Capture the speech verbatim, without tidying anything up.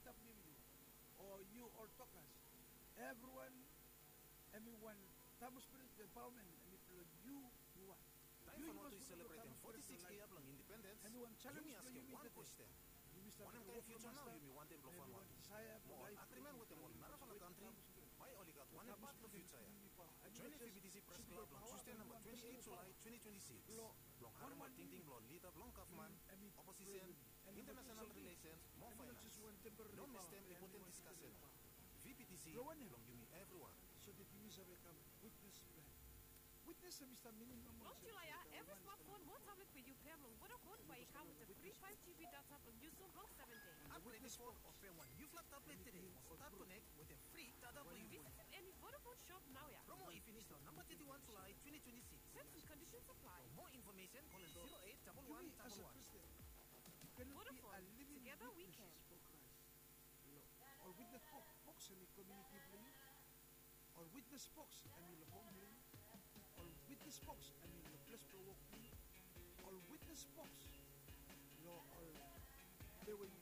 Stap niu yu o yu ol tokas. Evriwan hemi wan Tabu Spirit we paoman hemi blong yu. Yu wan. Taem Vanuatu i selebretem foti sikis yia blong independens, yumi askem wan kwestin: wanem kaen fiuja nao yumi wantem blong Vanuatu? Mo ol agrimen wetem ol narafala kantri, bae oli gat wanem pat blong fiuja ya? Joenem VBTC Pres Klab long Tusde namba twenti eit Julae twenti twenti sikis blong harem ol tingting blong ol lida blong gavman, oposisen, internasenal rilesens mo faenans. No mistem impoten diskasen ya. VBTC blong yumi evriwan. So that yumi save kam witnes blong hem. Witnes hemi stap minim nomo long Julae ya, evri smatfon mo tablet we yu pem long Vodafone bae i kam wetem fri five GB data blong yusum long seven dei. Upgredem fon o pem wan niufala tablet tede mo stat konek wetem fri data blong yu. Visitim eni Vodafone shop naoia. Promo i finis long namba teti wan Julae twenti twenti sikis. Terms and conditions apply. For more information, call zero eight double one double one. Vodafone, together we can. Ol witnes boks hemi komuniti blong yu. Ol witnes boks hemi long hom blong yu. Ol witnes boks hemi long ples blong wok blong yu. Ol witnes boks long ol ples we yu